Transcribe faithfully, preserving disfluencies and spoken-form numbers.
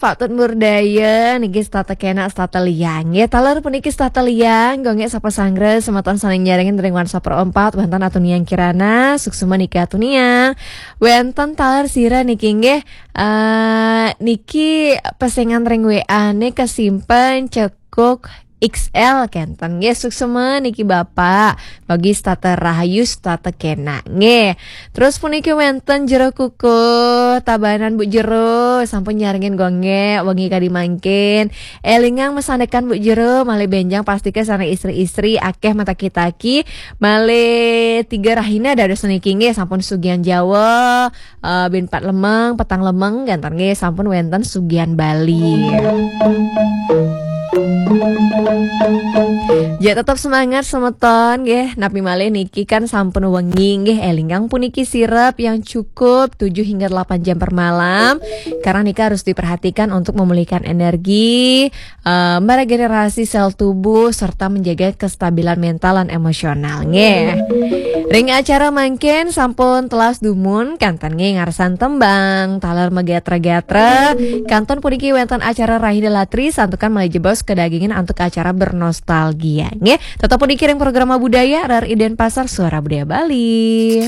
Patut murdaya niki setata kena setata liang. Ya, taler puniki setata liang, gonge sapa sanggra semeton saning nyarengin ring WhatsApp Pro empat, wenten Atuniang Kirana, suksma niki Atuniang. Wenten taler sira niki nggih, eh, niki pesengan ring W A ne kesimpen cekuk X L kenten nggih, suksma niki Bapak. Bagi setata rahayu setata kena nggih. Terus puniki wenten Jero Kukuh, Tabanan Bu Jero, sampun nyarengin gonge wengi kadi mangkin. Elingang masandekan Bu Jero, malih benjang pastika sareng istri-istri akeh mataki-taki, malih tiga rahina dados niki nggih, sampun sugihan Jawa, eh, bin pat lemeng, petang lemeng, kenten nggih, sampun wenten sugihan Bali. Ya, tetap semangat semeton nggih. Napi malih niki kan sampun wengi nggih, elingang puniki sirep yang cukup tujuh hingga delapan jam per malam. Karena nika harus diperhatikan untuk memulihkan energi, eh, meregenerasi sel tubuh serta menjaga kestabilan mental dan emosional nggih. Ring acara mangkin sampun telas dumun, kenten nggih ngarsan tembang, taler magatra-gatra, kantun puniki wenten acara Rahina Latri, santukan malih jebos kedagingan antuk acara bernostalgia nggih. Tetap puniki ring programa budaya, rar ida Denpasar, Suara Budaya Bali.